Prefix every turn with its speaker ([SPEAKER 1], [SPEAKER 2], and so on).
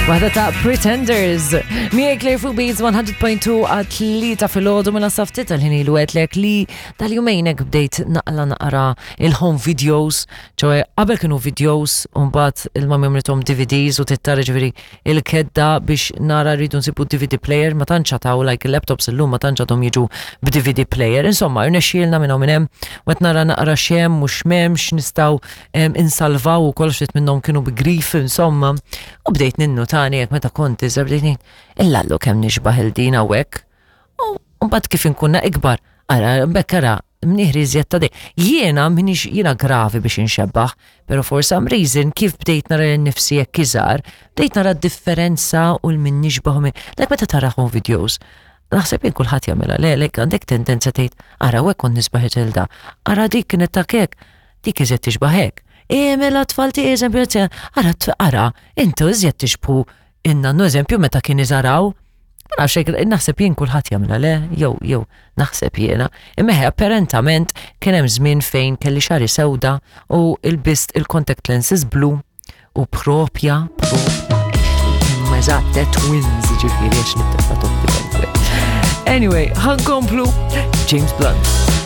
[SPEAKER 1] Waħda ta' Pretenders. Miegħek Claire fuq Beats 100.2 għat-tlieta filgħodu mela saftit tal-ħin ilu għedlek li tal-jumejn hekk bdejt naqla naqra il-home videos, ċoe qabel kienu videos u mbagħad il-mami għamlithom DVDs u tittara ġifieri il-kedda biex nara rridu nsibu DVD player ma tantx għataw like il-laptops illum ma tantx għadhom jiġu b'DVD player. Insomma, irnexxielna minn hawn minn hemm u qed nara naqra x'hemm u x'm'hemmx nistgħu insalvaw u kollox ftit minnhom kienu bi grif insomma. U bdejt ninnutani hekk meta kont iżgħar bdejt ngħid illallu kemm nixbah il din hawnhekk. U mbagħad kif inkunna ikbar, ara bekk ara mnieħri iżjed ta' dej. Jiena minix jiena gravi biex inxebbaħ, pero for some reason kif bdejt nara lil nifsi hekk iżgħar, bdejt nara d-differenza u l-min nixbaħ u min. Dak meta tara home videos, naħseb jien kulħadd jagħmilha le, lek għandek tendenza tgħid ara hekk kont nisbaħ it-tilda, ara dik kienet ta' kek, dik iżjed tixbah hekk. E mela tfal tiegħi eżempju, ara ara, intu iżjed tixbħu in-nannu eżempju meta kien iżaraw. Ma nafx hekk naħseb jien kulħadd jagħmilha le, jew jew naħseb jiena. Imma apparentament kien hemm żmien fejn kelli xari sewda u ilbist il-contact lenses blu u propja propja imma eżatt eh, twins ġifieri għax nittefa' Anyway, ħankomplu James Blunt.